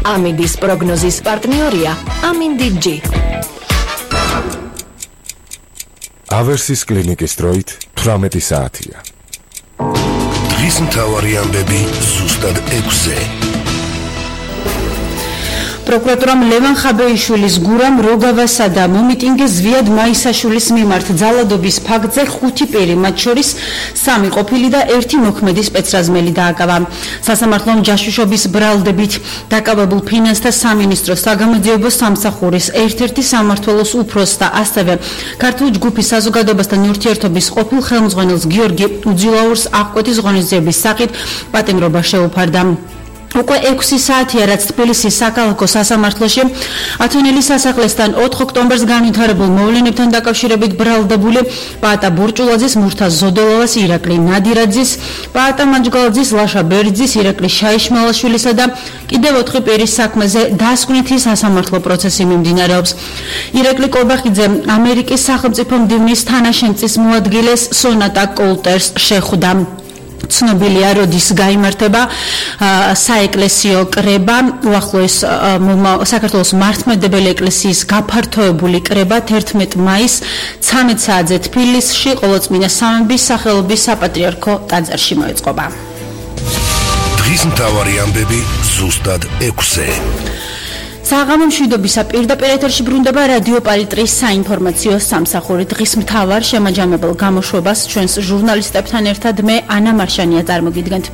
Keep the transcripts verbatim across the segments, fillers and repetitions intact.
ამინდის პროგნოზის პარტნიორია ამინდი ჯი. ავერსის კლინიკის დროით თვრამეტი საათია. დღის მთავარი ამბები ზუსტად ექვსზე. პროკურატურამ ლევან ხაბეიშვილის გურამ როგავასა და მომიტინგე ზვიად მაისაშვილის მიმართ ძალადობის ფაქტზე ხუთი პირი, მათ შორის სამი ყოფილი და ერთი მოქმედი სპეცრაზმელი დააკავა. სასამართლომ ჯაშუშობის ბრალდებით დაკავებულ ფინანსთა სამინისტროს საგამოძიებო სამსახურის ერთ-ერთი სამმართველოს უფროს და ასევე ქართული ჯგუფის საზოგადოებასთან ურთიერთობის ყოფილ ხელმძღვანელს გიორგი უძილაურს აღკვეთის ღონისძიების სახით პატიმრობა შეუფარდა. უკვე ექვსი საათია, რაც თბილისის საქალაქო სასამართლოში ათონელის სასახლესთან ოთხ ოქტომბერს განვითარებულ მოვლენებთან დაკავშირებით ბრალდებული პაატა ბურჭულაძის, მურთაზ ზოდოლოვას, ირაკლი ნადირაძის, პაატა მაჯგალაძის, ლაშა ბერძის, ირაკლი შაიშმალაშვილისა და კიდევ ოთხი პირის საქმეზე დასკვნითი სასამართლო პროცესი მიმდინარეობს. ირაკლი კობახიძე ამერიკის სახელმწიფო მდივნის თანაშემწის მოადგილეს სონატა კოლტერს შეხვდა. ცნობილია, როდის გაიმართება საეკლესიო კრება, უახლოეს საქართველოს მართლმადიდებელი ეკლესიის გაფართოებული კრება თერთმეტი მაისს ცამეტ საათზე თბილისში ყოვლადწმინდა სამების სახელობის საპატრიარქო ტაძარში მოეწყობა. დღის მთავარი ამბები ზუსტად ექვსზე. საღამო მშვიდობისა პირდაპირ ეთერში ბრუნდება რადიო პალიტრის საინფორმაციო სამსახური. დღის მთავარ შემაჯამებელ გამოშვებას ჩვენს ჟურნალისტებთან ერთად მე ანა მარშანია წარმოგიდგენთ.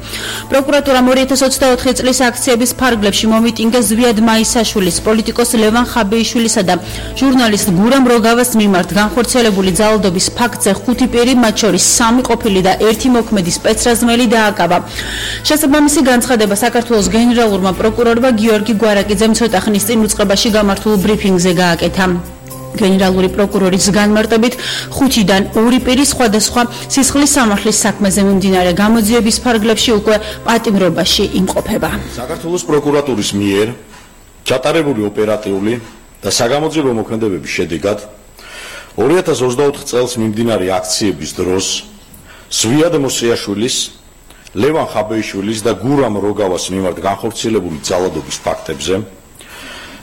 პროკურატურამ ორი ათას ოცდაოთხი წლის აქციების ფარგლებში მომიტინგე ზვიად მაისაშვილის, პოლიტიკოს ლევან ხაბეიშვილისა და ჟურნალისტ გურამ როგავას მიმართ განხორციელებული ძალადობის ფაქტზე ხუთი პირი, მათ შორის სამი ყოფილი და ერთი მოქმედი სპეცრაზმელი დააკავა. შესაბამისი განცხადება საქართველოს გენერალურმა პროკურორმა გიორგი გვარაკიძემ ცოტა ხნის წინ უწყებაში გამართულ ბრიფინგზე გააკეთა. გენერალური პროკურორის განმარტებით ხუთიდან ორი პირი სხვადასხვა სისხლის სამართლის საქმეზე მიმდინარე გამოძიების ფარგლებში უკვე პატიმრობაში იმყოფება. საქართველოს პროკურატურის მიერ ჩატარებული ოპერატიული და საგამოძიებო მოქმედებების შედეგად ორი ათას ოცდაოთხ წელს მიმდინარე აქციების დროს ზვიად მოსიაშვილის, ლევან ხაბეიშვილის და გურამ როგავას მიმართ განხორციელებული ძალადობის ფაქტებზე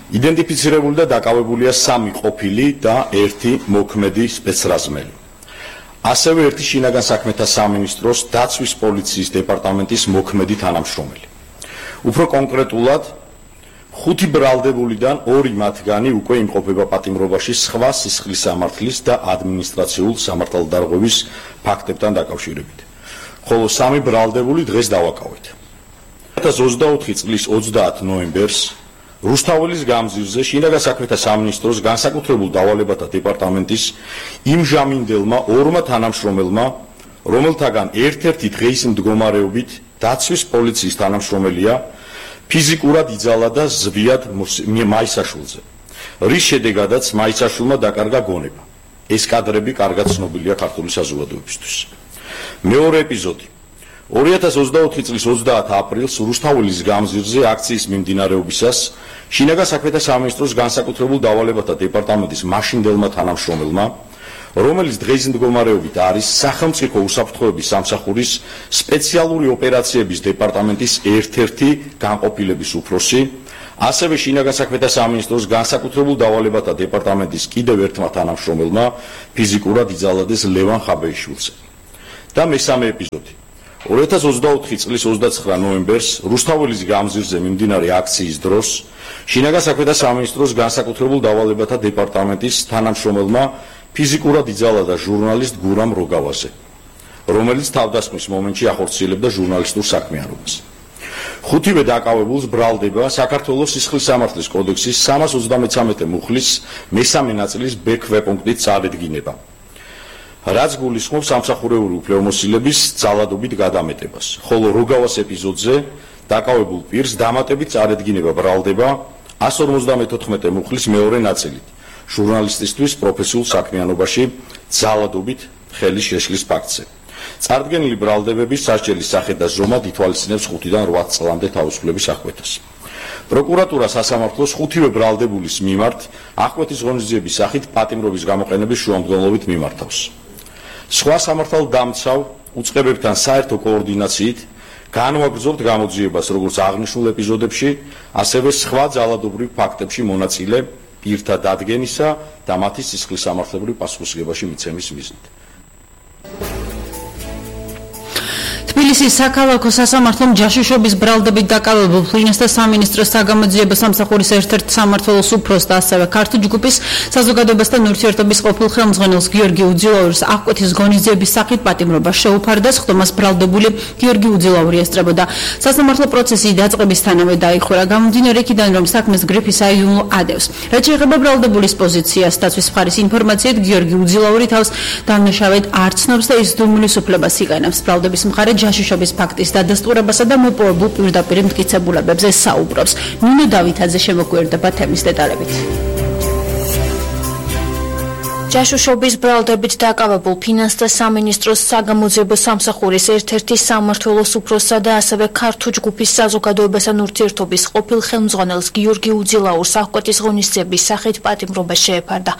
იდენტიფიცირებული და დაკავებულია სამი ყოფილი და ერთი მოქმედი სპეცრაზმელი. ასევე ერთი შინაგან საქმეთა სამინისტროს დაცვის პოლიციის დეპარტამენტის მოქმედი თანამშრომელი. უფრო კონკრეტულად, ხუთი ბრალდებულიდან ორი მათგანი უკვე იმყოფება პატიმრობაში სხვა სისხლის სამართლის და ადმინისტრაციულ სამართალდარღვევის ფაქტებთან დაკავშირებით. ხოლო სამი ბრალდებული დღეს დავაკავეთ. ორი ათას ოცდაოთხი წლის ოცდაათ ნოემბერს რუსთაველის გამზირზე შინაგან საქმეთა სამინისტროს განსაკუთრებულ დავალებათა დეპარტამენტის იმჟამინდელმა ორმა თანამშრომელმა, რომელთაგან ერთ-ერთი დღეის მდგომარეობით დაცვის პოლიციის თანამშრომელია, ფიზიკურად იძალა ზვიად მაისაშვილზე, რის შედეგადაც მაისაშვილმა დაკარგა გონება. ეს კადრები კარგად ცნობილია ქართული საზოგადოებისთვის. მეორე ეპიზოდი. ორი ათას ოცდაოთხი წლის ოცდაათ აპრილს რუსთაველის გამზირზე აქციის მიმდინარეობისას შინაგან საქმეთა სამინისტროს განსაკუთრებულ დავალებათა დეპარტამენტის მაშინდელმა თანამშრომელმა, რომელიც დღეის მდგომარეობით არის სახელმწიფო უსაფრთხოების სამსახურის სპეციალური ოპერაციების დეპარტამენტის ერთ-ერთი განყოფილების უფროსი, ასევე შინაგან საქმეთა სამინისტროს განსაკუთრებულ დავალებათა დეპარტამენტის კიდევ ერთმა თანამშრომელმა ფიზიკურად იძალადეს ლევან ხაბეიშვილზე. და მესამე ეპიზოდი. ორი ათას ოცდაოთხი წლის ოცდაცხრა ნოემბერს რუსთაველის გამზირზე მიმდინარე აქციის დროს შინაგან საქმეთა სამინისტროს განსაკუთრებულ დავალებათა დეპარტამენტის თანამშრომელმა ფიზიკურად იძალა ჟურნალისტ გურამ როგავაზე, რომელიც თავდასხმის მომენტში ახორციელებდა ჟურნალისტურ საქმიანობას. ხუთივე დაკავებულს ბრალდება საქართველოს სისხლის სამართლის კოდექსის სამას ოცდამეცამეტე მუხლის მესამე ნაწილის ბ ქვეპუნქტით წარედგინება, რაც გულისხმობს სამსახურეული უფლებამოსილების ძალადობით გადამეტებას, ხოლო როგავას ეპიზოდზე დაკავებულ პირს დამატებით წარედგინება ბრალდება ასი ორმოცდამეთოთხმეტე მუხლის მეორე ნაწილით, ჟურნალისტისთვის პროფესიულ საქმიანობაში ძალადობით ხელის შეშლის ფაქტზე. წარდგენილი ბრალდებების სასჯელის სახე და ზომა ითვალისწინებს ხუთიდან რვა წლამდე თავისუფლების აღკვეთას. პროკურატურა სასამართლოს ხუთივე ბრალდებულის მიმართ აღკვეთის ღონისძიების სახით პატიმრობის გამოყენების შუამდგომლობით მიმართავს. სხვა სამართალდამცავ უწყებებთან საერთო კოორდინაციით განვაგრძობთ გამოძიებას როგორც აღნიშნულ ეპიზოდებში, ასევე სხვა ძალადობრივ ფაქტებში მონაწილე პირთა დადგენისა და მათი სისხლის სამართლებრივ პასუხისმგებაში მიცემის მიზნით. თბილისის საქალაქო სასამართლომ ჯაშუშობის ბრალდებით დაკავებულ ფინანსთა სამინისტროს საგამოძიებო სამსახურის ერთ-ერთ სამმართველოს უფროს და ასევე ქართულ ჯგუფის საზოგადოებასთან ურთიერთობის ყოფილ ხელმძღვანელს გიორგი უძილაურის აღკვეთის ღონისძიების სახით პატიმრობა შეუფარდა, ხდომას ბრალდებული გიორგი უძილაური ესწრებოდა. სასამართლო პროცესი დაწყებისთანავე დაიხურა, გამომდინარე იქიდან, რომ საქმეს გრიფი საიუმლო ადევს. რაც შეეხება ბრალდებულის პოზიციას, დაცვის მხარის ინფორმაციით, გიორგი უძილაური თავს დამნაშავედ არ ცნობს და ის დუმილის უფლებას იყენებს. ბრალდების მხარე ჯაშუშობის ფაქტის დადასტურებასა და მოპოვებულ პირდაპირ მტკიცებულებებზე საუბრობს. ნინო დავითაძე შემოგვიერთდება თემის დეტალებით. ჯაშუშობის ბრალდებით დაკავებულ ფინანსთა სამინისტროს საგამოძიებო სამსახურის ერთ-ერთი სამმართველოს უფროსსა და ასევე ქართულ ჯგუფის საზოგადოებასთან ურთიერთობის ყოფილ ხელმძღვანელს გიორგი უძილაურს აღკვეთის ღონისძიების სახით პატიმრობა შეეფარდა.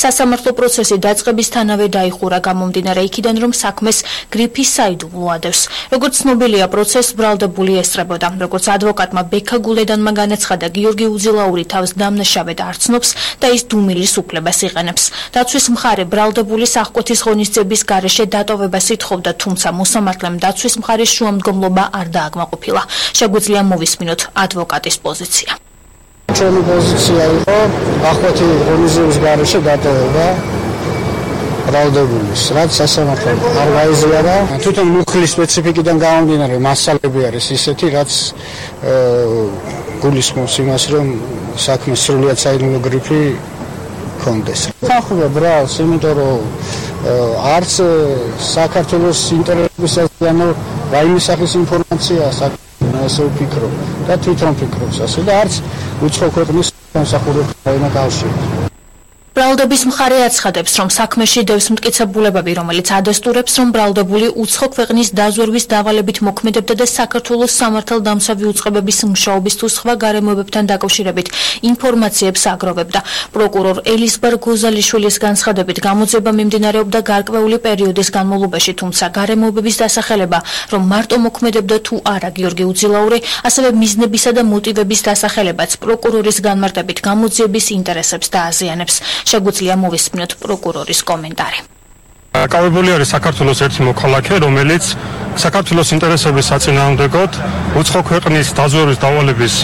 სასამართლო პროცესი დაწყებისთანავე დაიხურა, გამომდინარე იქიდან, რომ საქმეს გრიფი საიდუმლო ადევს. როგორც ცნობილია, პროცესს ბრალდებული ესწრებოდა. როგორც ადვოკატმა ბექა გულედანმა განაცხადა, გიორგი უძილაური თავს დამნაშავედ არ ცნობს და ის დუმილის უფლებას იყენებს. დაცვის მხარე ბრალდებულის აღკვეთის ღონისძიების გარეშე დატოვებას ითხოვდა, თუმცა მოსამართლემ დაცვის მხარის შუამდგომლობა არ დააკმაყოფილა. შეგვიძლია მოვისმინოთ ადვოკატის პოზიცია. ჩემი პოზიცია იყო აღკვეთი ღონისძიების გარეშე დატოვება ბრალდებულის, რაც სასამართლომ არ გაიზიარა. თვითონ მუხლის სპეციფიკიდან გამომდინარე მასალები არის ისეთი, რაც გულისხმობს იმას, რომ საქმე სრულიად საიდუმლო გრიფი კონდეს. ხახულა ბრალს, იმიტომ რომ არც საქართველოს ინტერესებისას ანუ რაიმე სახის ინფორმაცია ასე ვფიქრობ და თვითონ ვფიქრობს ასე და არც უცხო ქვეყნის სამსახურებთან რაიმე კავშირი. ბრალდების მხარე აცხადებს, რომ საქმეში დევს მტკიცებულებები, რომელიც ადასტურებს, რომ ბრალდებული უცხო ქვეყნის დაზვერვის დავალებით მოქმედებდა და საქართველოს სამართალდამცავი უწყებების მუშაობის თუ სხვა გარემოებებთან დაკავშირებით ინფორმაციებს აგროვებდა. პროკურორ ელიზბარ გოზალიშვილის განცხადებით, გამოძიება მიმდინარეობდა გარკვეული პერიოდის განმავლობაში, თუმცა გარემოებების დასახელება, რომ მარტო მოქმედებდა თუ არა გიორგი უძილაური, ასევე მიზნებისა და მოტივების დასახელებაც პროკურორის განმარტებით გამოძიების ინტერესებს დააზიანებს. შეგვიძლია მოვისმინოთ პროკურორის კომენტარი. Კავებული არის საქართველოს ერთი მოქალაქე, რომელიც საქართველოს ინტერესების საწინააღმდეგოდ უცხო ქვეყნის დაზვერვის დავალების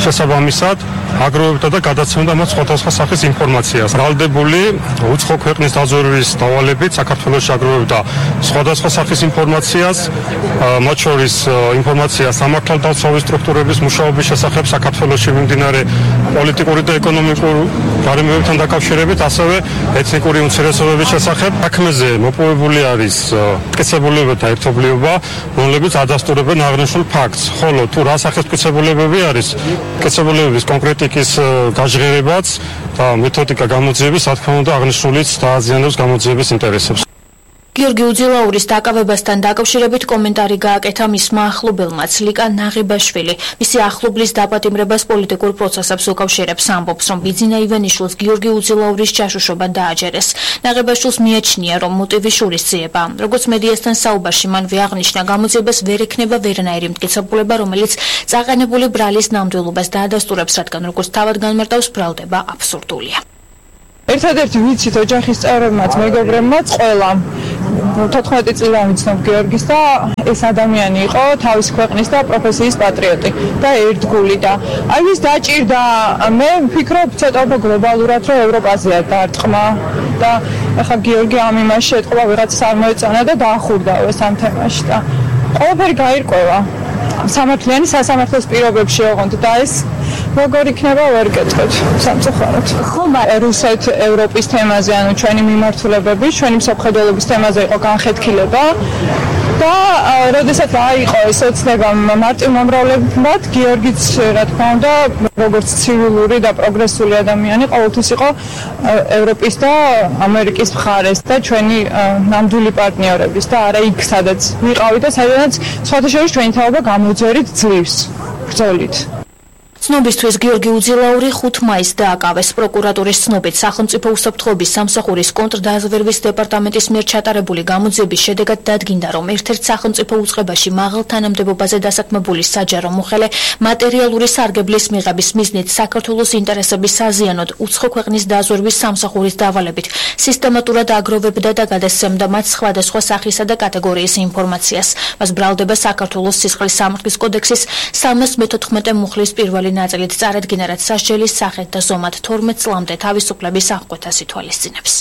შესაბამისად აგროვებდა და გადაცემდა მათ სხვადასხვა სახის ინფორმაციას. ბრალდებული უცხო ქვეყნის დაზვერვის დავალებით საქართველოში აგროვებდა სხვადასხვა სახის ინფორმაციას, მათ შორის ინფორმაციას სამართალდამცავი სტრუქტურების მუშაობის შესახებ საქართველოში მიმდინარე პოლიტიკური და ეკონომიკური გარემოებებთან დაკავშირებით, ასევე ეთნიკური უმცირესობების შესახებ. საქმეზე მოპოვებული არის მტკიცებულებები და ერთობლიობა, რომლებიც ადასტურებენ აღნიშნულ ფაქტს. ხოლო თუ რა სახის მტკიცებულებები არის, მტკიცებულებების კონკრეტიკის გაჟღერებაც და მეთოდიკა გამოძიების, რა თქმა უნდა, აღნიშნულიც დააზიანებს გამოძიების ინტერესებს. გიორგი უძილაურის დაკავებასთან დაკავშირებით კომენტარი გააკეთა მისმა ახლობელმაც ლიკა ნაღიბაშვილი. მისი ახლობლის დაპატიმრებას პოლიტიკურ პროცესებს უკავშირებს, ამბობს, რომ ბიძინა ივანიშვილს გიორგი უძილაურის ჯაშუშობა დააჯერეს. ნაღიბაშვილს მიაჩნია, რომ მოტივი შურისძიება. როგორც მედიასთან საუბარში მან აღნიშნა, გამოძიებას ვერ ექნება ვერანაირი მტკიცებულება, რომელიც წაყენებული ბრალის ნამდვილობას დაადასტურებს, რადგან როგორც თავად განმარტავს, ბრალდება აბსურდულია. ერთადერთი ვიცით ოჯახის წევრებმაც, მეგობრებმაც, ყველამ თოთხმეტი წლიდან ვიცნობ გიორგის და ეს ადამიანი იყო თავის ქვეყნის და პროფესიის პატრიოტი და ერთგული და აი ვის დაჭირდა, მე ვფიქრობ ცოტა უფრო გლობალურად, რომ ევროპაზეა დარტყმა და ახლა გიორგი ამ იმაში ეთყობა ვიღაც არ მოეწონა და დაახურდაო ეს ამ თემაში და ყველაფერი გაირკვევა. სამართლიანი სასამართლოს პირობებში ოღონდ და ეს როგორ იქნება ვერ გეტყვით სამწუხაროდ. რუსეთ ევროპის თემაზე, ანუ ჩვენი მიმართულებები, ჩვენი მსოფლმხედველობის თემაზე იყო განხეთქილება და როდესაც რა იყო ეს ოცნება მარტივ მომრავლებად, გიორგიც რა თქმა უნდა, როგორც ცივილური და პროგრესული ადამიანი, ყოველთვის იყო ევროპის და ამერიკის მხარეს და ჩვენი ნამდვილი პარტნიორების და არა იქ, სადაც ვიყავით და სადაც სხვათა შორის ჩვენი თაობა გამოძერით ძლივს ბრძოლით. ცნობისთვის გიორგი უძილაური ხუთ მაისს დააკავეს. პროკურატურის ცნობით სახელმწიფო უსაფრთხოების სამსახურის კონტრდაზვერვის დეპარტამენტის მიერ ჩატარებული გამოძიების შედეგად დადგინდა, რომ ერთ-ერთ სახელმწიფო უწყებაში მაღალ თანამდებობაზე დასაქმებული საჯარო მოხელე მატერიალური სარგებლის მიღების მიზნით საქართველოს ინტერესების საზიანოდ უცხო ქვეყნის დაზვერვის სამსახურის დავალებით სისტემატურად აგროვებდა და გადასცემდა მათ სხვადასხვა სახისა და კატეგორიის ინფორმაციას. მას ბრალდება საქართველოს სისხლის სამართლის კოდექსის სამას მეთოთხმეტე მუხლის პირველი ნაწილით წარადგინა, რაც სასჯელის სახით და ზომად თორმეტ წლამდე თავისუფლების აღკვეთას ითვალისწინებს.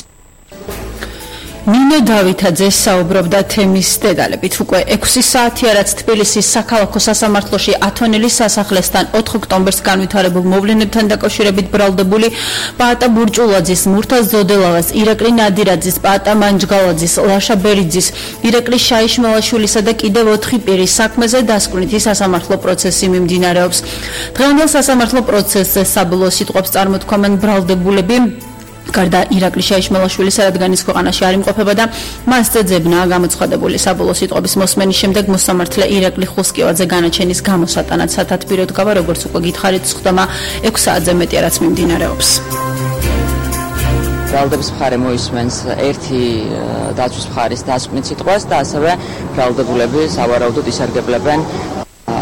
ნინო დავითაძე საუბრობდა თემის დეტალებით. უკვე ექვსი საათია, რაც თბილისის საქალაქო სასამართლოში ათონელის სასახლესთან ოთხ ოქტომბერს განვითარებულ მოვლენებთან დაკავშირებით ბრალდებული პაატა ბურჭულაძის, მურთაზ ზოდელავას, ირაკლი ნადირაძის, პაატა მანჯგალაძის, ლაშა ბერიძის, ირაკლი შაიშმელაშვილისა და კიდევ ოთხი პირის საქმეზე დასკვნითი სასამართლო პროცესი მიმდინარეობს. დღევანდელ სასამართლო პროცესზე საბოლოო სიტყვებს წარმოთქვამენ ბრალდებულები. გარდა ირაკლი შაიშმელაშვილისა, რადგან ის ქვეყანაში არ იმყოფება და მასზე ძებნაა გამოცხადებული. საბოლოო სიტყვების მოსმენის შემდეგ მოსამართლე ირაკლი ხუსკივაძე განაჩენის გამოსატანად სათათბიროდ გავა, როგორც უკვე გითხარით, სხდომა ექვს საათზე მეტია, რაც მიმდინარეობს. ბრალდების მხარე მოისმენს ერთი დაცვის მხარის დასკვნით სიტყვას და ასევე ბრალდებულები სავარაუდოდ ისარგებლებენ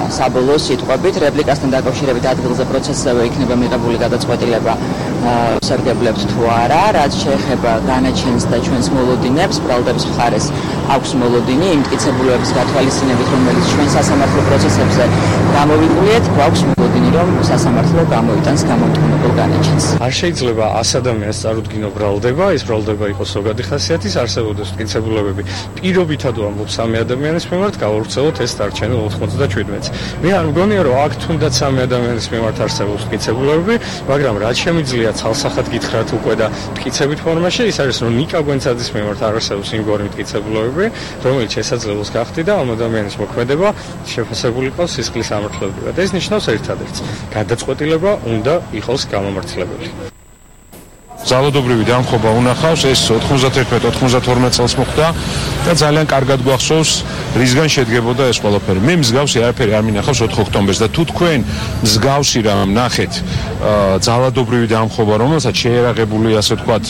საბოლოო სიტყვებით. რეპლიკასთან დაკავშირებით ადგილზე პროცესზე იქნება მიღებული გადაწყვეტილება სარგებლებთ თუ არა. რაც შეეხება განაჩენს და ჩვენს მოლოდინებს, ბრალდების მხარეს აქვს მოლოდინი იმ მტკიცებულებების გათვალისწინებით, რომელიც ჩვენ სასამართლო პროცესებზე გამოვიყურეთ, გვაქვს მოლოდინი, რომ სასამართლო გამოიტანს გამომტყუნებელ განაჩენს. არ შეიძლება ას ადამიანს წარუდგინო ბრალდება, ეს ბრალდება იყოს ზოგადი ხასიათის, არსებობდეს მტკიცებულებები. პირობითად ვამბობ სამი ადამიანის მიმართ, გავავრცელოთ ეს დარჩენილ ოთხმოცდაჩვიდმეტს. მე არ მგონია, რომ აქ თუნდაც სამი ადამიანის მიმართ არსებობს მტკიცებულებები, მაგრამ რაც შემიძლია ცალსახად გითხრათ უკვე და მტკიცებით ფორმაში, ის არის, რომ ნიკა გვენცაძის მიმართ არ არსებობს იმგვარი მტკიცებულებები, რომელიც შესაძლებლობს გახდიდა და ამ ადამიანის მოქმედება შეფასებული იყოს სისხლის სამართლებრივად. ეს ნიშნავს ერთადერთს, გადაწყვეტილება უნდა იყოს გამომართლებელი. ძალადობრივი დამხობა უნახავს, ეს ოთხმოცდაერთმეტ ოთხმოცდათორმეტ წელს მოხდა და ძალიან კარგად გვახსოვს რისგან შედგებოდა ეს ყველაფერი. მე მსგავსი არაფერი არ მინახავს ოთხ ოქტომბერს და თუ თქვენ მსგავსი რამ ნახეთ ძალადობრივი დამხობა, რომელსაც შეერაღებული, ასე ვთქვათ,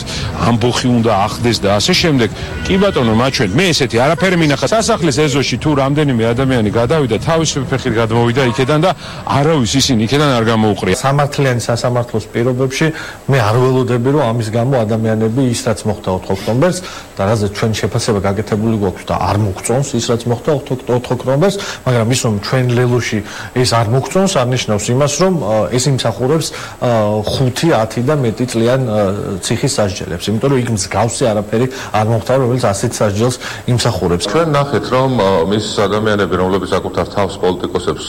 ამბოხი უნდა ახდეს და ასე შემდეგ, კი ბატონო, მაჩვენ, მე ესეთი არაფერი მინახა. სასახლის ეზოში თუ რამდენიმე ადამიანი გადავიდა, თავისი ფეხით გადმოვიდა იქედან და არავის ისინი იქედან არ გამოუყრია. სამართლიანი სასამართლოს პირობებში მე არ ველოდები, რომ ამის გამო ადამიანები ის რაც მოხდა ოთხ ოქტომბერს და რაზეც ჩვენ შეფასება გაკეთებული გვაქვს და არ მოგწონს ის რაც მოხდა ოთხ ოქტომბერს, მაგრამ ის რომ ჩვენ ლელოში ეს არ მოგწონს, არ ნიშნავს იმას, რომ ეს იმსახურებს ხუთი, ათი და მეტი წლიან ციხის სასჯელებს, იმიტომ რომ იქ მსგავსი არაფერი არ მოხდა, რომელიც ასეთ სასჯელს იმსახურებს. ჩვენ ნახეთ, რომ მის ადამიანები, რომლებიც საკუთარ თავს პოლიტიკოსებს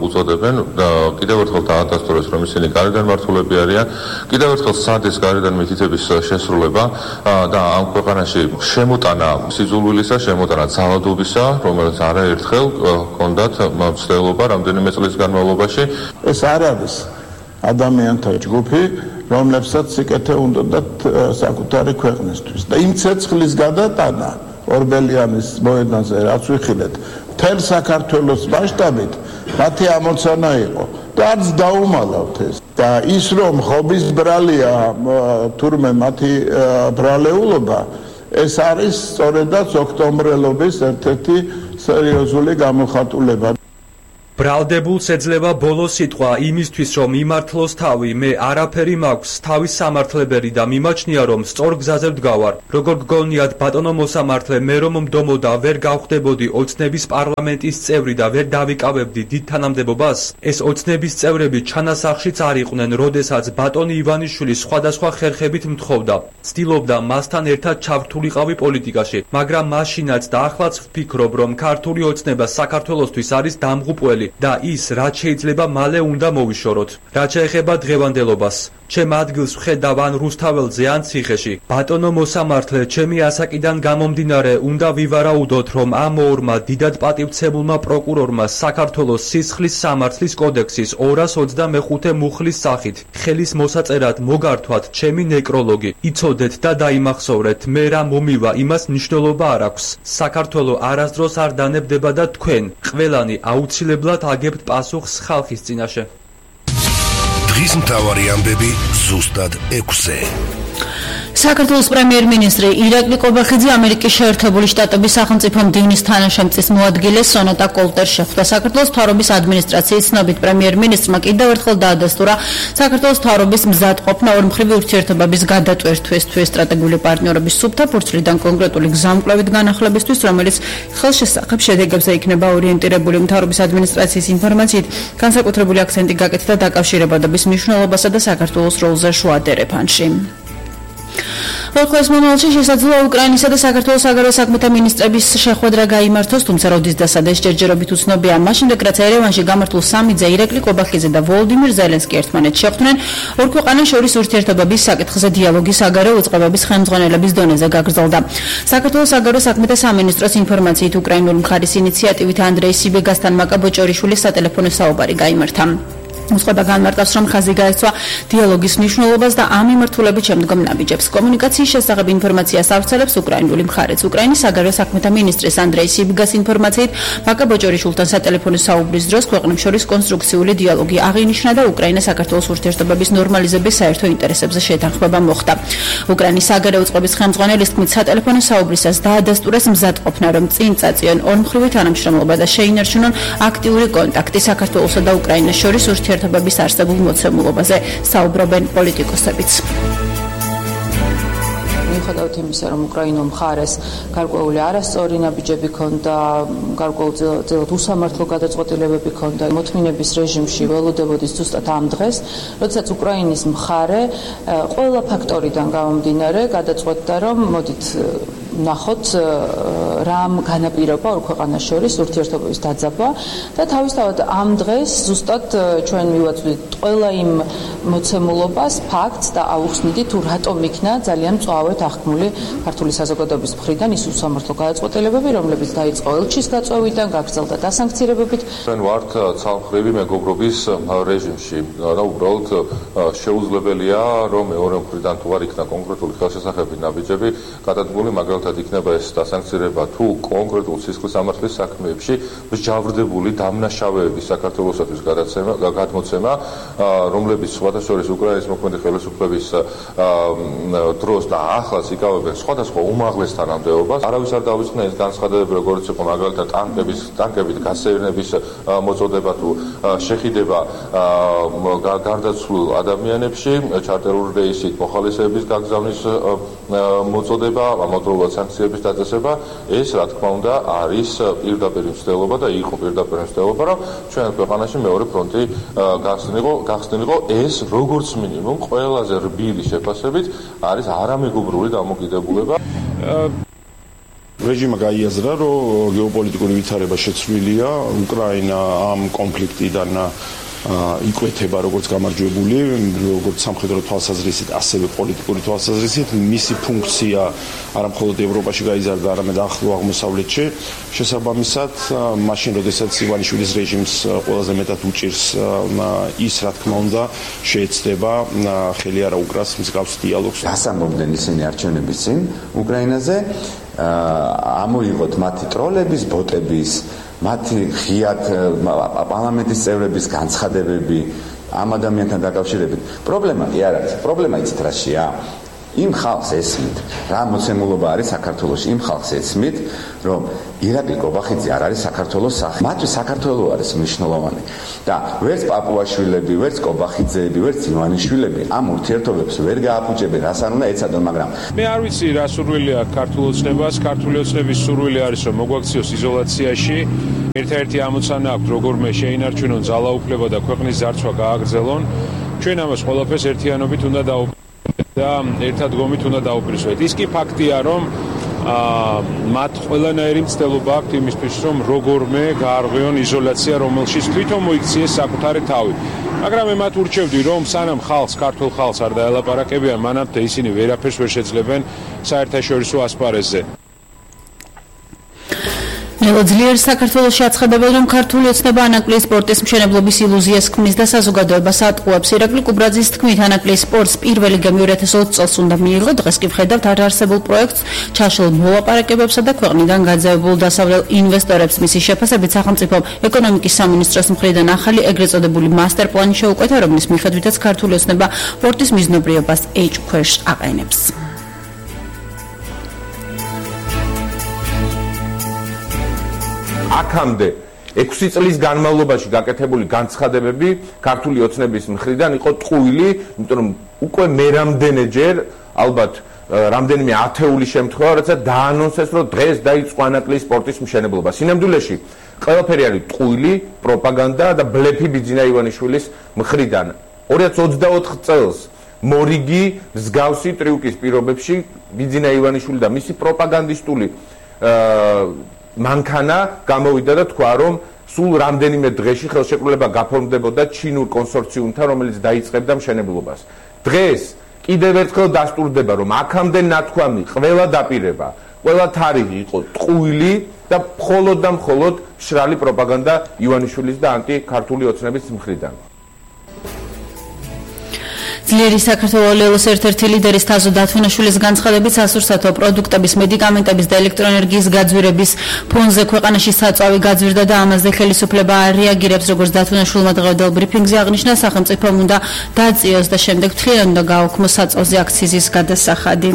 უწოდებენ, კიდევ ერთხელ დაადასტურეს, რომ ისინი გარედან მართულები არიან, კიდევ ერთხელ სადის გარედან მითითების შესრულება და ამ ქვეყანაში შემოტანა სიძულვილისა, შემოტანა ძალადობისა, რომელიც არაერთხელ ჰქონდათ მცდელობა რამდენიმე წლის განმავლობაში. ეს არ არის ადამიანთა ჯგუფი, რომლებსაც სიკეთე უნდათ საკუთარი ქვეყნისთვის და იმ ცეცხლის გადატანა ორბელიანის მოედანზე, რაც ვიხილეთ, მთელ საქართველოს მასშტაბით მათი ამოცანა იყო და არც დაუმალავთ ეს. და ის რომ ხობის ბრალია თურმე მათი ბრალეულობა, ეს არის სწორედაც ოქტომბრელობის ერთ-ერთი სერიოზული გამოხატულება. ბრალდებულს ეძლევა ბოლო სიტყვა იმისთვის, რომ იმართლოს თავი. მე არაფერი მაქვს, თავის სამართლებერი და მიმაჩნია, რომ სწორ გზაზე ვდგავარ. როგორ გგონიათ, ბატონო მოსამართლე, მე რომ მდომოდა ვერ გავხდებოდი ოცნების პარლამენტის წევრი და ვერ დავიკავებდი დიდ თანამდებობას? ეს ოცნების წევრები ჩანასახშიც არ იყვნენ, როდესაც ბატონი ივანიშვილი სხვადასხვა ხერხებით მთხოვდა. ცდილობდა მასთან ერთად ჩავრთულიყავი პოლიტიკაში, მაგრამ მაშინაც და ახლაც ვფიქრობ, რომ ქართული ოცნება საქართველოსთვის არის დამღუპველი და ის, რაც შეიძლება მალე უნდა მოვიშოროთ. რაც შეეხება დღევანდელობას, ჩემ ადგილს ვხედავ ან რუსთაველზე ან ციხეში. ბატონო მოსამართლე, ჩემი ასაკიდან გამომდინარე უნდა ვივარაუდოთ, რომ ამ ორმა დიდად პატივცემულმა პროკურორმა საქართველოს სისხლის სამართლის კოდექსის ორას ოცდამეხუთე მუხლის სახით ხელის მოსაწერად მოგართვათ ჩემი ნეკროლოგი. იცოდეთ და დაიმახსოვრეთ, მე რა მომივა, იმას მნიშვნელობა არ აქვს. საქართველო არასდროს არ დანებდება და თქვენ ყველანი აუცილებლად აგებთ პასუხს ხალხის წინაშე. დღის მთავარი ამბები ზუსტად ექვსზე. საქართველოს პრემიერ-მინისტრი ირაკლი ყობახიძე ამერიკის შეერთებული შტატების სახელმწიფო მდივნის თანაშემწის მოადგილე სონატა კოლტერს შეხვდა. საქართველოს მთავრობის ადმინისტრაციის ცნობით პრემიერ-მინისტრმა კიდევ ერთხელ დაადასტურა საქართველოს მთავრობის მზადყოფნა ორმხრივი ურთიერთობების გადატვირთვისთვის სტრატეგიული პარტნიორობის სუფთა ფურცლიდან კონკრეტული გზამკვლევით განახლებისთვის, რომელიც ხელშესახებ შედეგებზე იქნება ორიენტირებული. მთავრობის ადმინისტრაციის ინფორმაციით, განსაკუთრებული აქცენტი გაკეთდა დაკავშირებადობის მნიშვნელობასა და საქართველოს როლზე შუა დერეფანში. ორ მომავალში შესაძლოა უკრაინისა და საქართველოს საგარეო საქმეთა მინისტრების შეხვედრა გაიმართოს, თუმცა როდის და სადაც ჯერჯერობით უცნობია. მაშინ რაც ერევანში გამართულ სამიძე, ირაკლი ყობახიძე და ვოლოდიმირ ზელენსკი ერთმანეთს შეხვდნენ ორ ქვეყანას შორის ურთიერთობების საკითხზე დიალოგის საგარეო უწყებების ხელმძღვანელების დონეზე გაგრძელდა. საქართველოს საგარეო საქმეთა სამინისტროს ინფორმაციით, უკრაინული მხარის ინიციატივით ანდრეი სიბეგასთან მაკაბოჭორიშვილის სატელეფონო საუბარი გაიმართა. უწყება განმარტავს, რომ ხაზი გაეცვა დიალოგის მნიშვნელობას და ამ მიმართულებით შემდგომ ნაბიჯებს. კომუნიკაციის შესახებ ინფორმაციას ავრცელებს უკრაინული მხარეც. უკრაინის საგარეო საქმეთა მინისტრის ანდრეი სიბიგას ინფორმაციით, მაკაბოჭორიშვილთან სატელეფონო საუბრის დროს ქვეყნებს შორის კონსტრუქციული დიალოგი აღინიშნა და უკრაინა-საქართველოს ურთიერთობების ნორმალიზების საერთო ინტერესებზე შეთანხმება მოხდა. უკრაინის საგარეო უწყების ხელმძღვანელის თქმით, სატელეფონო საუბრისას დაადასტურეს მზადყოფნა, რომ წინ წაწიონ ორმხრივი თანამშრომლობა და შეინარჩუნონ აქტიური კონტაქტი საქართველოსა და უკრაინას შორის ურთიერთობების არსებულ მოცემულობაზე, საუბრობენ პოლიტიკოსებიც. მიუხედავად იმისა, რომ უკრაინულ მხარეს გარკვეული არასწორი ნაბიჯები ჰქონდა, გარკვეულწილად უსამართლო გადაწყვეტილებები ჰქონდა, მოთმინების რეჟიმში ველოდებოდის ზუსტად ამ დღეს, როდესაც უკრაინის მხარე ყველა ფაქტორიდან გამომდინარე გადაწყვეტდა, რომ მოდით ნახოთ რამ განაპირობა ორ ქვეყანას შორის ურთიერთობების დაძაბვა და თავისთავად ამ დღეს ზუსტად ჩვენ მივაწვდით ყველა იმ მოცემულობას, ფაქტს და აუხსნიდით თუ რატომ იქნა ძალიან მწვავედ აღქმული ქართული საზოგადოების მხრიდან ის უსამართლო გადაწყვეტილებები, რომლებიც დაიწყო ელჩის გაწვევიდან, გაგრძელდა დასანქცირებებით. ჩვენ ვართ ცალმხრივი მეგობრობის რეჟიმში და უბრალოდ შეუძლებელია რომ მეორე მხრიდან თუ არ იქნა კონკრეტული ხელშესახებები ნაბიჯები გადადგმული, მაგრამ იქნება ეს დასანქცირება თუ კონკრეტულ სისხლის სამართლის საქმეებში მსჯავრდებული დამნაშავეების საქართველოსათვის გადაცემა, გადმოცემა, რომლებიც სხვათა შორის უკრაინის მოქმედი ხელისუფლების დროს და ახლაც იკავებენ სხვადასხვა უმაღლეს თანამდებობას. არავის არ დავიწყნა ეს განცხადებები, როგორც იყო მაგალითად ტანკების, ტანკებით გასეირნების მოწოდება თუ შეხიდება გარდაცვლილ ადამიანებში, ჩარტერული რეისით მოხალისეების გაგზავნის მოწოდება, ამავდროულად სანქციების დაწესება, ეს რა თქმა უნდა არის პირდაპირ მცდელობა და იყო პირდაპირ მცდელობა, რომ ჩვენ ქვეყანაში მეორე ფრონტი გახსნილიყო, გახსნილიყო ეს როგორც მინიმუმ ყველაზე რბილი შეფასებით არის არამეგობრული დამოკიდებულება. რეჟიმმა გაიაზრა, რომ გეოპოლიტიკური ვითარება შეცვლილია, უკრაინა ამ კონფლიქტიდან იკვეთება როგორც გამარჯვებული, როგორც სამხედრო თვალსაზრისით, ასევე პოლიტიკური თვალსაზრისით. მისი ფუნქცია არა მხოლოდ ევროპაში გაიზარდა, არამედ ახლო აღმოსავლეთში. შესაბამისად, მაშინ როდესაც ივანიშვილის რეჟიმს ყველაზე მეტად უჭირს ის, რა თქმა უნდა, შეეცდება ხელი არა უკრას მსგავს დიალოგს. დასამბობდნენ ისინი არჩევნების წინ უკრაინაზე, ამოიღოთ მათი ტროლების, ბოტების, მათი ღიად პარლამენტის წევრების განცხადებები ამ ადამიანთან დაკავშირებით. პრობლემა კი არ არის. პრობლემა იცით რაშია? იმ ხალხს ესმით, რა მოცემულობა არის საქართველოში, იმ ხალხს ესმით, რომ ირაკლი ყობახიძე არ არის საქართველოს სახე. მათთვის საქართველო არის მნიშვნელოვანი. და ვერც პაპუაშვილები, ვერც ყობახიძეები, ვერც ივანიშვილები ამ ურთიერთობებს ვერ გააფუჭებენ, რას არ უნდა ეცადონ, მაგრამ მე არ ვიცი რა სურვილი აქვს ქართულ ოცნებას. ქართული ოცნების სურვილი არის, რომ მოგვაქციოს იზოლაციაში. ერთ-ერთი ამოცანა აქვს, როგორმე შეინარჩუნონ ძალაუფლება და ქვეყნის ძარცვა გააგრძელონ. ჩვენ ამას ყველაფერს ერთიანობით უნდა დავუბრუნდეთ და ერთად გომით უნდა დაუბრისვეთ. ის კი ფაქტია, რომ მათ ყველანაირი მცდელობა აქვთ იმისთვის, რომ როგორმე გაარღვიონ იზოლაცია, რომელშიც თვითონ მოიქციეს საკუთარი თავი. მაგრამ მე მათ ურჩევდი, რომ სანამ ხალხს, ქართულ ხალხს არ დაელაპარაკებიან, მანამდე ისინი ვერაფერს ვერ შეძლებენ საერთაშორისო ასპარეზზე. ძლიერს საქართველოში აცხადებენ, რომ ქართული ოცნება ანაკლიის სპორტის მშენებლობის ილუზიას ქმნის და საზოგადოებას ატყუებს. ირაკლი კუბრაძის თქმით, ანაკლიის სპორტს პირველი გემი ორი ათას ოცი წელს უნდა მიიღო. დღეს კი ვხედავთ არარსებულ პროექტს, ჩაშლილ მოლაპარაკებებსა და ქვეყნიდან გაძევებულ დასავლელ ინვესტორებს. მისი შეფასებით, სახელმწიფომ ეკონომიკის სამინისტროს მხრიდან ახალი ეგრეთ წოდებული მასტერ პლანი შეუკვეთა, რომლის მიხედვითაც ქართული ოცნება სპორტის მიზნობრიობას ეჭ ქვეშ აყენებს. აქამდე ექვსი წლის განმავლობაში გაკეთებული განცხადებები ქართული ოცნების მხრიდან იყო ტყუილი, იმიტომ რომ უკვე მერამდენეჯერ ალბათ რამდენიმე ათეული შემთხვევა, როცა დაანონსეს, რომ დღეს დაიწყო ანაკლიის სპორტის მშენებლობა. სინამდვილეში ყველაფერი არის ტყუილი, პროპაგანდა და ბლეფი ბიძინა ივანიშვილის მხრიდან. ორი ათას ოცდაოთხ წელს მორიგი მსგავსი ტრიუკის პირობებში ბიძინა ივანიშვილი და მისი პროპაგანდისტული მანქანა გამოვიდა და თქვა, რომ სულ რამდენიმე დღეში ხელშეკრულება გაფორმდებოდა ჩინურ კონსორციუმთან, რომელიც დაიწყებდა მშენებლობას. დღეს კიდევ ერთხელ დასტურდება, რომ აქამდე ნათქვამი, ყველა დაპირება, ყველა თარიღი იყო ტყუილი და მხოლოდ და მხოლოდ მშრალი პროპაგანდა ივანიშვილის და ანტიქართული ოცნების მხრიდან. ძლიერი საქართველოს ერთ-ერთი ლიდერის თაზო დათვინაშვილის განცხადებით, სასურსათო პროდუქტების, მედიკამენტების და ელექტროენერგიის გაძვირების ფონზე ქვეყანაში საწვავი გაძვირდა და ამაზე ხელისუფლება არ რეაგირებს, როგორც დათვინაშვილმა დღევანდელ ბრიფინგზე აღნიშნა. სახელმწიფომ უნდა დააწიოს და შემდეგ მთლიანად უნდა გააუქმოს საწვავზე აქციზის გადასახადი.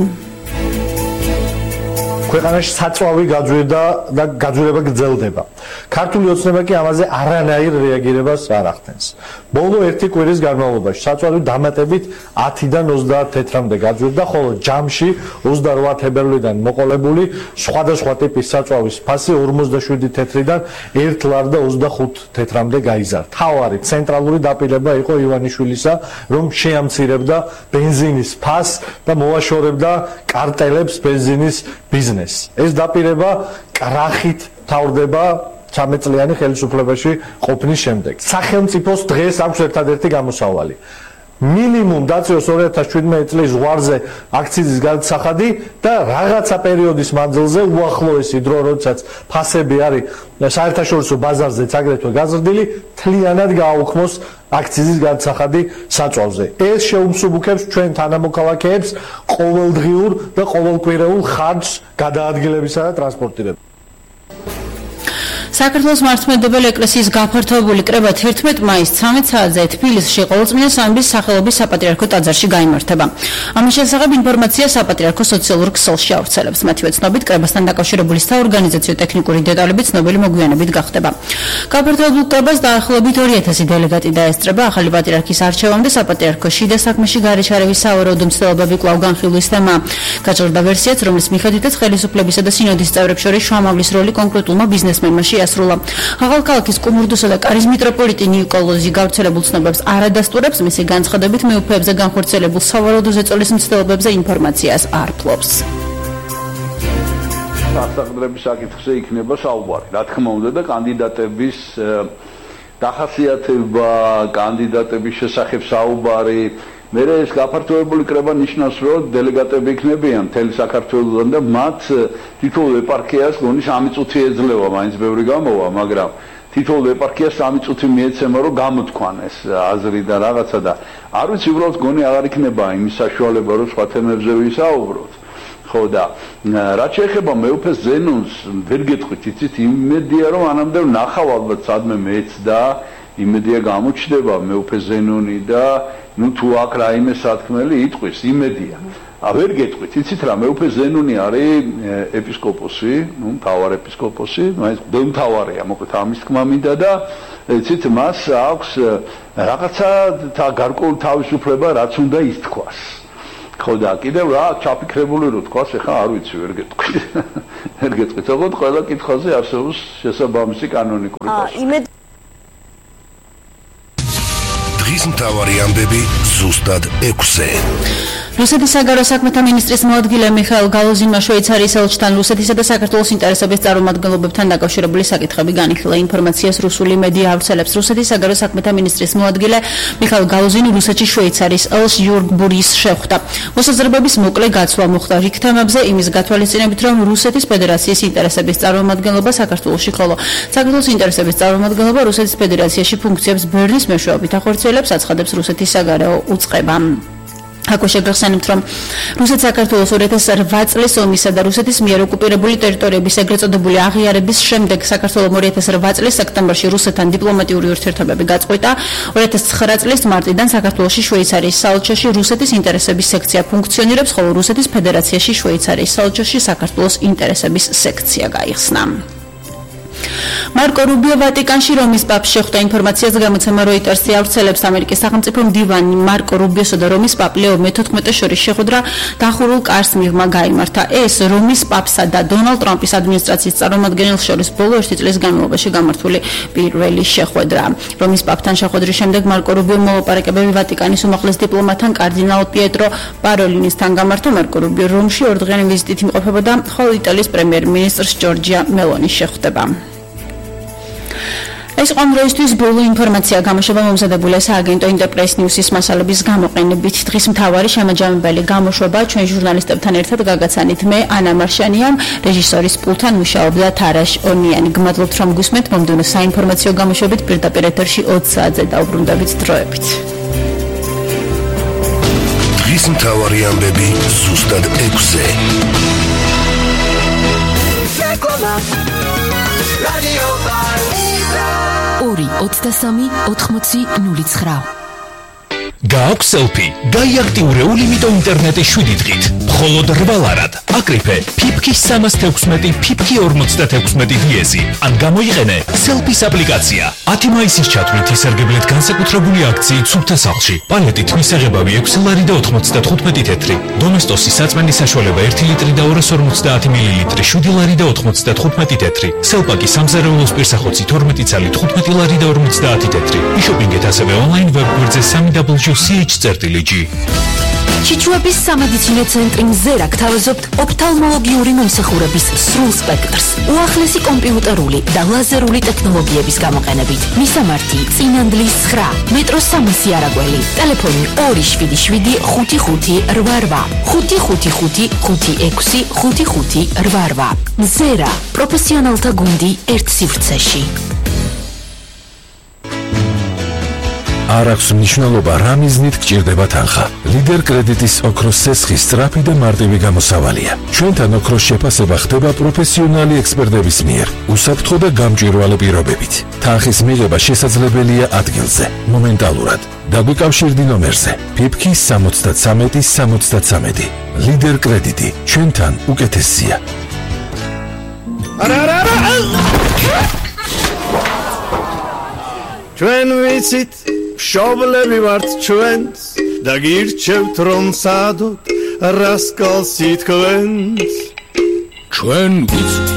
ქვეყანაში საწვავი გაძვირდა და გაძვირება გრძელდება. ქართული ოცნება კი ამაზე არანაირ რეაგირებას არ ახდენს. ბოლო ერთი კვირის განმავლობაში საწვავი დამატებით ათიდან ოცდაათ თეთრამდე გაძვირდა, ხოლო ჯამში ოცდარვა თებერვლიდან მოყოლებული სხვადასხვა ტიპის საწვავის ფასი ორმოცდაშვიდი თეთრიდან ერთ ლარ და ოცდახუთ თეთრამდე გაიზარდა. თავარი ცენტრალური დაპირება იყო ივანიშვილისა, რომ შეამცირებდა ბენზინის ფასს და მოაშორებდა კარტელებს ბენზინის ბიზნესს. ეს დაპირება კრახით თავდება ცამეტწლიანი ხელისუფლებაში ყოფნის შემდეგ. სახელმწიფოს დღეს აქვს ერთადერთი გამოსავალი. მინიმუმ დაწიოს ორი ათას შვიდმეტი წლის ზღვარზე აქციზის გადასახადი და რაღაცა პერიოდის მანძილზე უახლოესი დრო, როდესაც ფასები არის საერთაშორისო ბაზარზეც აგრეთვე გაზრდილი, მთლიანად გააუქმოს აქციზის გადასახადი საწვავზე. ეს შეუმსუბუქებს ჩვენ თანამოქალაქეებს ყოველდღიურ და ყოველკვირეულ ხარჯს გადაადგილებისა და ტრანსპორტირების. საქართველოს მართლმადიდებელი ეკლესიის გაფართოებული კრება თერთმეტ მაისს ცამეტ საათზე თბილისში ყოვლწმინდა სამების სახელობის საპატრიარქო ტაძარში გაიმართება. ამის შესახებ ინფორმაცია საპატრიარქოს სოციალურ ქსელში ავრცელებს. მათივე ცნობით, კრებასთან დაკავშირებული საორგანიზაციო ტექნიკური დეტალები ცნობილი მოგვიანებით გახდება. გაფართოებულ კრებას დაახლოებით ორი ათასი დელეგატი დაესწრება. ახალი პატრიარქის არჩევამდე საპატრიარქო შიდა საქმეში გარეშარების სავარაუდო მცდელობები კვლავ განხილვის თემა. გაჭირდა ვერსიაც, რომლის მიხედვითაც ხელისუფლებისა და სინოდის წევრებს შორის შუამავლის როლი კონკრეტულმა ბიზნესმენმა შეასრულა. ახალქალაქის კუმურდოსა და კარის მიტროპოლიტი ნიკოლოზი გავრცელებულ ცნობებს არ ადასტურებს, მისი განცხადებით მეუფეებზე განხორციელებულ სავარაუდო ზეწოლის მცდელობებზე ინფორმაციას არ ფლობს. სასწრაფოების საკითხზე იქნება საუბარი. რა თქმა უნდა და კანდიდატების დახასიათება, კანდიდატების შესახებ საუბარი, მე ეს გაფართოებული კრება ნიშნავს, რომ დელეგატები იქნებიან მთელი საქართველოსიდან და მათ თითოეულ ეპარქიას გონი სამი წუთი ეძლევა, მაინც ბევრი გამოვა, მაგრამ თითოეულ ეპარქიას სამი წუთი მიეცემა, რომ გამოთქვან ეს აზრი და რაღაცა და არ ვიცი, უბრალოდ გონი აღარ იქნება იმის საშუალება, რომ სხვა თემებზე ვისაუბროთ. ხო და რაც შეეხება მეუფეს ზენონს, ვერ გეტყვით, იცით, იმედია, რომ ანამდე ვნახავ ალბათ სადმე მეც და იმედია გამოჩნდება მეუფეს ზენონი და ну თუ აქ რაიმე სათქმელი იტყვის, იმედია. ა ვერ გეტყვით, იცით რა, მეუფე ზენონი არის ეპისკოპოსი, ну მთავარ ეპისკოპოსი, მაინც მთავარია, მოკლედ ამის თქმა მინდა და იცით, მას აქვს რაღაცა გარკვეული თავისუფლება, რაც უნდა ითქვას. ხო და კიდევ რა ჩაფიქრებული რო თქვას, ეხლა არ ვიცი, ვერ გეტყვით. ვერ გეტყვით, ოღონდ ყველა კითხვაზე არსებობს შესაბამისი კანონიკური პასუხი. მთავარი ამბები ზუსტად ექვსზე. რუსეთის საგარეო საქმეთა მინისტრის მოადგილე მიხაილ გალუზინმა შვეიცარიის ელჩთან რუსეთისა და საქართველოს ინტერესების წარმომადგენლობებთან დაკავშირებული საკითხები განიხილა. ინფორმაციას რუსული მედია ავრცელებს. რუსეთის საგარეო საქმეთა მინისტრის მოადგილე მიხაილ გალუზინი რუსეთში შვეიცარიის ელჩ იურგ ბურის შეხვდა. მოსაზრებების მოკლე გაცვლა მოხდა რიგ თემებზე, იმის გათვალისწინებით, რომ რუსეთის ფედერაციის ინტერესების წარმომადგენლობა საქართველოში, ხოლო საქართველოს ინტერესების წარმომადგენლობა რუსეთის ფედერაციაში ფუნქციებს ბერნის მეშვეობით ახორციელებს, აცხადებს რუსეთის საგარეო უწყება. აქ შეგახსენებთ, რომ რუსეთ საქართველოს ორი ათას ოთხ წლის ომისა და რუსეთის მიერ ოკუპირებული ტერიტორიების ეგრეთ წოდებული აღიარების შემდეგ საქართველოს ორი ათას ოთხ წლის სექტემბერში რუსეთთან დიპლომატიური ურთიერთობები გაწყვეტა. ორი ათას ცხრა წლის მარტიდან საქართველოში შვეიცარიის საელჩოში რუსეთის ინტერესების სექცია ფუნქციონირებს, ხოლო რუსეთის ფედერაციაში შვეიცარიის საელჩოში საქართველოს ინტერესების სექცია გაიხსნა. მარკო რუბიო ვატიკანში რომის პაპს შეხვდა. ინფორმაციას გამოცემა როიტერსი ავრცელებს. ამერიკის სახელმწიფო მდივანი მარკო რუბიოსა და რომის პაპ ლეო მეთოთხმეტეს შორის შეხვედრა დახურულ კარს მიღმა გაიმართა. ეს რომის პაპსა და დონალდ ტრამპის ადმინისტრაციის წარმომადგენელს შორის ბოლო ერთი წლის განმავლობაში გამართული პირველი შეხვედრა. რომის პაპთან შეხვედრის შემდეგ მარკო რუბიო მოლაპარაკებები ვატიკანის უმაღლეს დიპლომატთან კარდინალ პიეტრო პაროლინისთან გამართა. მარკო რუბიო რომში ორდღიანი ვიზიტით იმყოფებოდა, ხოლო იტალიის პრემიერ-მინისტრს ჯორჯია მელონი შეხვდება. ეს ყომროისთვის ბოლო ინფორმაცია გამოშვება მომზადებულია სააგენტო ინტერპრეს ნიუსის მასალების გამოყენებით. დღის მთავარი შემაჯამებელი გამოშვება ჩვენ ჟურნალისტებთან ერთად გაგაცანით. მე ანა მარშანია, რეჟისორის პულტთან მუშაობდა თარაშ ონიანი. გმადლობთ რომ გусმენთ მომდევნო საინფორმაციო გამოშვებით პირდაპირ ეთერში ოცი საათზე დაუბრუნდებით დროებით. დღის მთავარი ამბები ზუსტად ექვსზე. ორი ოცდასამი ოთხმოცი ნული ცხრა. გააქვს სელფი, გაიაქტიურე ულიმიტო ინტერნეტის შვიდი დღით. მხოლოდ რვალარად. აკრიფე ფიფქის სამას თექვსმეტი, ფიფქი ორმოცდათექვსმეტი დიეზი. ან გამოიყენე სელფის აპლიკაცია. ათი მაისის ჩათვლით ისარგებლეთ განსაკუთრებული აქციით სუფთა სახლში. პალეტით მისაღებავი ექვსი ლარი და ოთხმოცდათხუთმეტი თეთრი. დომესტოსი საწმენდის საშუალება ერთი ლიტრი და ორას ორმოცდაათი მილილიტრი, შვიდი ლარი და ოთხმოცდათხუთმეტი თეთრი. სელპაკი სამზარეულოს პირსახოცი თორმეტი ცალი, თხუთმეტი ლარი და ორმოცდაათი თეთრი. იშოპინგეთ ასევე ონლაინ ვებგვერდზე სამი დაბლიუ სი ეიჩ წერტილი ჯი. ჩიჩუების სამედიცინო ცენტრი მზერა გთავაზობთ ოფთალმოლოგიური მომსახურების სრულ სპექტრს, უახლესი კომპიუტერული და ლაზერული ტექნოლოგიების გამოყენებით. მისამართი წინანდლის ცხრა, მეტროს სამასი არაგველი, ტელეფონი ორი შვიდი შვიდი ხუთი ხუთი რვა რვა, ხუთი ხუთი ხუთი ხუთი ექვსი ხუთი ხუთი რვა რვა. მზერა, პროფესიონალთა გუნდი ერთ სივრცეში. არ აქვს მნიშვნელობა რა მიზნით გჭირდება თანხა. ლიდერ კრედიტის ოქროს სესხის სწრაფი და მარტივი გამოსავალია. ჩვენთან ოქროს შეფასება ხდება პროფესიონალი ექსპერტების მიერ, უსაფრთხო და გამჭვირვალე პირობებით. თანხის მიღება შესაძლებელია ადგილზე, მომენტალურად. დაგვიკავშირდი ნომერზე ფიფქი სამოცდათრამეტი სამოცდათრამეტი. ლიდერ კრედიტი, ჩვენთან უკეთესია. არა არა არა ჩვენ ვიცით შობლები ვართ ჩვენს და გირჩევთ რომ სადოთ რასკალს ითქვენს ჩვენ ვიცით